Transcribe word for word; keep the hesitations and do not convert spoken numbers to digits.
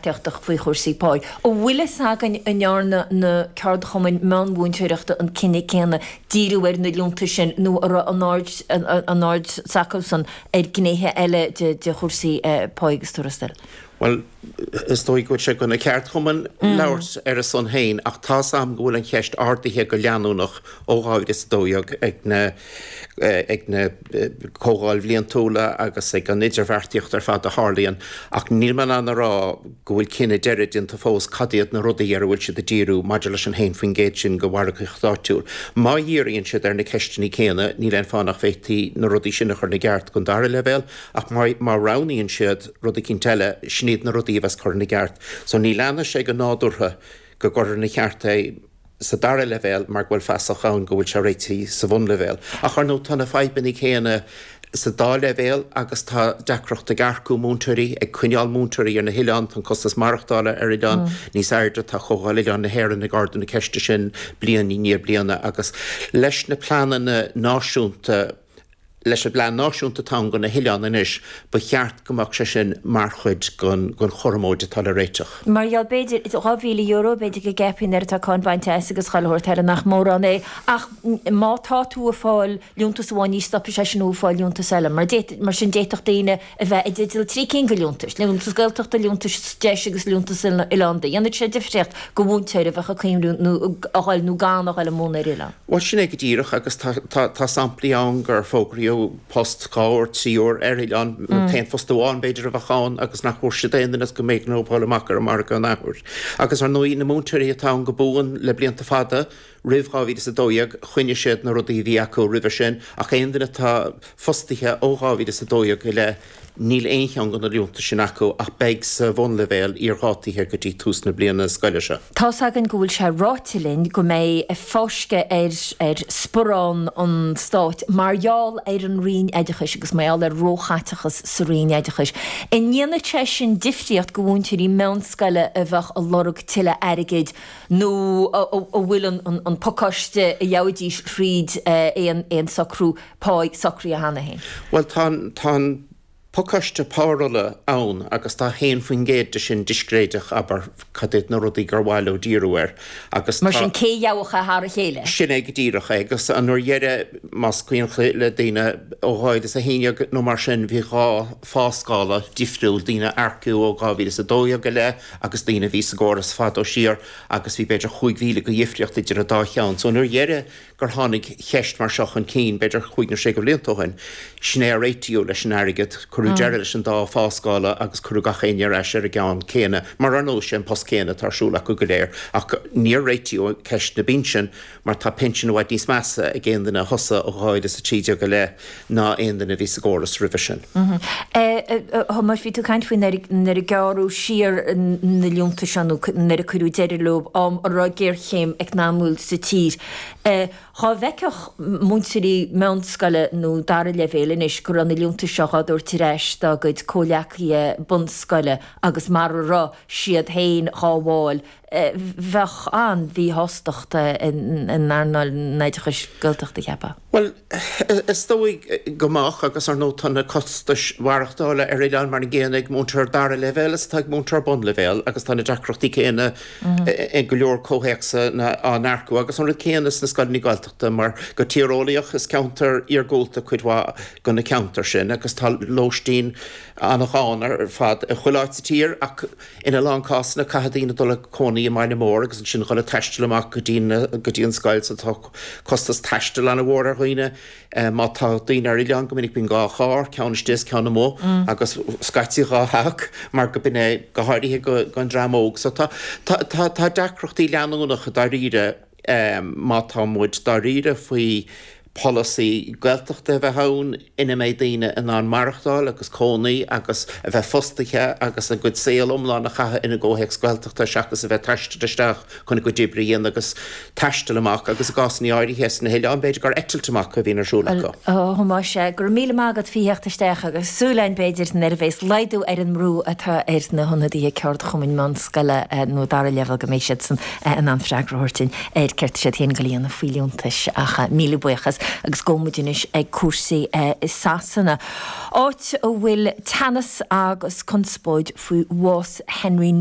idirbheartaíochta faoi chúrsaí pá. An bhfuil fhios againn an ndearna na ceardchumainn meánmhúinteoireachta an cinneadh céanna díriú ar na liúntais sin nó an raibh an aird an aird s'acusan ar ghnéithe eile de de chúrsaí pá agus tuarastail? Bhuel, is dóigh go bhfuil sé go na ceardchumainn labhairt ar a son féin, ach tá a fhios agam go bhfuil an cheist ardaithe go leanúnach ó dhá mhíle is a dó dhéag ag na ag na comhdháil bhliantúla agus ag an idirbheartaíocht ar fad a tharlaíonn, ach níl mé in ann a rá go bhfuil cinneadh deiridh déanta fós cad iad na rudaí ar a bhfuil siad ag díriú maidir leis an haon faoin gcéad sin go mhargaíocht áitiúil. Má dhíríonn siad ar na ceisteanna céanna, níl aon fáth nach bhféadfaí na rudaí sin a chur ina gceart don dara leibhéal, ach má má roghnaíonn siad rud eicínt eile, sin iad na rudaí a bheas curtha ina gceart. So ní leanfaidh sé go nádúrtha go gcuirfear ina cheart é sa dara leibhéal mar go bhfuil fasach ann go bhfuil sé réitithe sa bhunleibhéal. Ach ar ndóigh tá na fadhbanna céanna sa dá leibhéal agus tá deacracht ag earcú múinteoirí, ag coinneáil múinteoirí ar na hoileáin, tá an costas maireachtála ar oileáin níos airde, tá Comhdháil Oileáin na hÉireann ag ardú na ceiste sin bliain i ndiaidh bliana agus leis na pleananna náisiúnta, Leis an bPlean Náisiúnta atá ann do na hoileáin anois, ba cheart go mbeadh sé sin mar chuid den chothromóid atá le réiteach. Mar gheall, b'fhéidir, dhá mhíle euro, b'fhéidir go gceapfaí nuair atá cáin bainte as agus chuile shórt eile nach mórán é, ach má tá tú ag fáil liúntas amháin ní stopfaidh sé sin thú ag fáil liúntas eile. Mar mar sin d'fhéadfadh daoine a bheith i dteideal trí cinn de liúntais, liúntas Gaeltachta, liúntas deis agus liúntas oileánda. Dhéanfadh sé difríocht do mhúinteoir a bheadh ag cuimhniú nó a dhul nó gan a dhul ag múineadh ar oileán. Bhuel, sin é go díreach agus tá samplaí ann gur fógraíodh post dhá uair, trí uair ar oileán, an t-aon phost amháin b'fhéidir a bheadh ann agus nach bhfuair siad aon duine is go mb'éigean dóibh dul amach ar an margadh an athuair. Agus ar ndóigh na múinteoirí atá ann go buan le blianta fada, roimh dhá mhíle is a dó dhéag, choinnigh siad na rudaí a bhí acu roimhe sin ach aon duine atá fostaithe ó dhá mhíle is a dó dhéag i leith, Níl aon cheann de na liúntais sin acu ach beidh sa bhunleibhéal iardhátaithe go dtí tús na bliana scoile seo. Tá's againn go bhfuil sé ráite linn go mbeidh fáisceadh ar ar sparán an stáit mar gheall ar an Roinn Oideachais agus mar gheall ar róchaiteachas sa Roinn Oideachais. An ndéanfadh sé sin difríocht do mhúinteoirí meánscoile a bheadh ag lorg tuilleadh airgid nó a bhfuil an pacáiste a gheobhaidís thríd aon socrú páí socraithe cheana féin? Bhuel tá an pacáiste párolla ann agus tá haon faoin gcéad de sin discréideach, abair, cad iad na rudaí gur mhaith leo díriú air agus Mar tá. sin, cé a gheobhadh é thar a chéile? Sin é go díreach é agus an uair dheiridh, más cuimhin le daoine, ó dhá mhíle is a haon déag nó mar sin, bhí dhá pháscála difriúil, daoine a earcaíodh ó dhá mhíle is a dó dhéag i leith agus daoine a bhí sa gcóras fada siar agus bhí b'fhéidir chúig mhíle de dhifríocht idir an dá cheann. So an uair dheiridh gur tháinig ceist mar seo chun cinn, b'fhéidir chúig nó sé de bhlianta ó shin. Sin é a réitíodh leis an airgead, cuireadh deireadh leis an dá pháscála agus cuireadh gach éinne ar ais ar an gceann céanna, mar ar ndóigh sé an post céanna atá ar siúl acu go léir. Ach níor réitíodh ceist na bpinsean mar tá pinsean i bhfad níos measa ag aon duine a thosaigh ó dhá mhíle is a trí déag i leith ná aon duine a bhí sa gcóras roimhe sin. A Thomáis, bhí tú ag caint faoi nuair a gearradh siar na liúntais seo nó nuair a cuireadh deireadh leo, am a raibh géarchéim eacnamúil sa tír. Dhá bhfeicfeadh múinteoirí meánscoile nó dara leibhéil anois go raibh na liúntais seo dhá dtabhairt ar ais dá gcuid comhleacaithe bunscoile agus mara raibh siad féin dhá bhfáil, bheadh an-mhíshástacht in earnáil an oideachais Gaeltachta, cheapfá. Bhuel, is dóigh go mbeadh agus ar ndóigh tá na costais mhaireachtála ar oileán mar an gcéanna ag múinteoir dara leibhéal is atá ag múinteoir bunleibhéal agus tá na deacrachtaí céanna i go leor comhthéacsanna á n-earcú agus an rud céanna sna scoileanna Gaeltachta mar go tíreolaíoch is ceantar iargúlta cuid mhaith de na ceantair sin agus tá lóistín an-ghann ar fad i chuile áit sa tír ach ina lán cásanna caithfidh daoine dul ag cónaí i mbaile mór agus ansin dhul ag taisteal amach go dtí go dtí an scoil so tá costas taistil an-mhór ar dhaoine. Má tá daoine ar oileán go minic bíonn dhá charr, ceann istigh is ceann amuigh agus scaití dhá theach mar go b'in é go háirithe don dream óg. So tá tá tá deacrachtaí leanúnacha dáiríre má tá muid dáiríre faoi pholasaí Gaeltachta a bheith ann ina mbeidh daoine in ann maireachtáil agus cónaí agus a bheith fostaithe agus a gcuid saol iomlán a chaitheamh ina gcomhthéacs Gaeltachta seachas a bheith ag taisteal isteach chun a gcuid oibre a dhéanamh agus taisteal amach agus i gcásanna áirithe sna hoileáin b'fhéidir gur eitilt amach a bhíonn ar siúl acu. A Thomáis, go raibh míle maith agat faoi theacht isteach agus súil againn b'fhéidir nuair a bheas laghdú ar an mbrú atá ar na hionadaithe ceardchumainn meánscoile nó dara leibhéal go mbeidh siadsan in ann freagra a thabhairt dúinn ar céard tá siad féin ag dul a dhéanamh faoi liúntais ach míle buíochas agus gabhfaidh muid anois ag cúrsaí i Sasana, áit a bhfuil teannas agus conspóid faoi bhás Henry.